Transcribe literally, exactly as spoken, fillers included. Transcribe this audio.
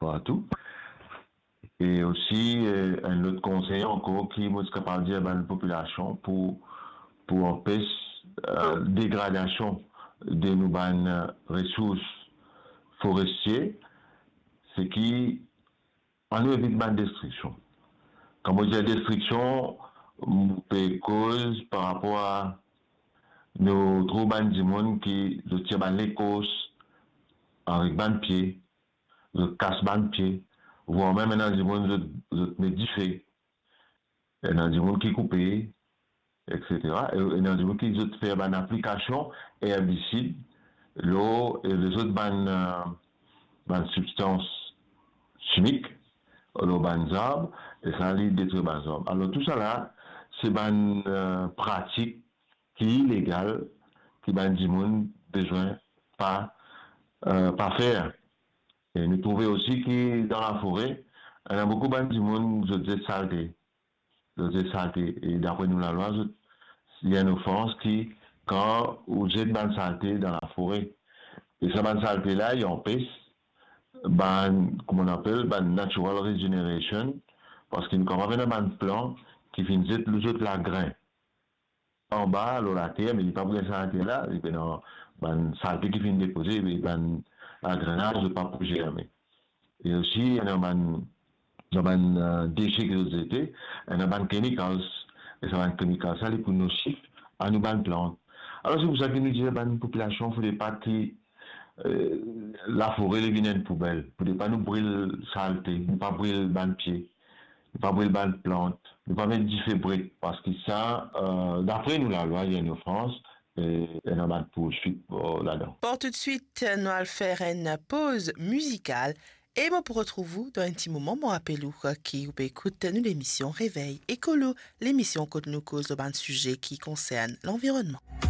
partou. E osi, eh, enn lot konsey ankor ki mo ti kapav dir bann popilasion pou, pou anpes, eh, degradasion de nou bann, eh, resours forestie, se ki annou evit bann destriksion. Kan mo dir destriksion, mo pe koz par rapor a nou trouv bann dimoun ki zot tir bann lekors avek bann pie, zot kas bann pie, vwar mem ena dimoun zot, zot met dife, ena dimoun ki koupe, et cetera. E ena dimoun ki zot fer bann aplikasion erbisid lor, e lezot bann, eh, bann sibstans simik lor bann zab, e sa li detrir bann zab. Alor, tousala, se bann, eh, pratik ki ilegal, ki bann dimoun bizin pa, eh, pa fer. E nou trouve osi ki dan lafore, ena boukou bann dimoun, zot zet salte. Zot zet salte. E dapre nou lalwa, zot, li enn ofans ki kan ou zet bann salte dan lafore. E sa bann salte la, li anpes bann, kouma nou apel, bann natural regeneration, parski nou kapav ena bann plant ki finn zet lor zot lagrin anba, lor later, me li pa pou gagn sa later la, li pena bann salte ki finn depoze, me bann lagrin la, zot pa pou zerme. E osi, ena bann, dan bann, eh, dese ki zot zete, ena bann chemicals, e sa bann chemicals la, li pou nosif a nou bann plant. Alor, se pou sa ki nou dir bann popilasion, fode pa ki, eh, lafore li vinn enn poubel, fode pa nou bril salte, nou pa bril bann pie, nou pa bril bann plant, nou pa met dife bret, parski sa, eh, dapre nou lalwa, li enn ofans, e ena bann pourswit, eh, ladan. Bon, toutswit, nou al fer enn poz mizikal e mo pou retrouv ou dan enn ti moman. Mo rapel ou ki ou pe ekout nou lemision Revey Ekolo, lemision kot nou koz lor bann size ki konsern lanvironnman.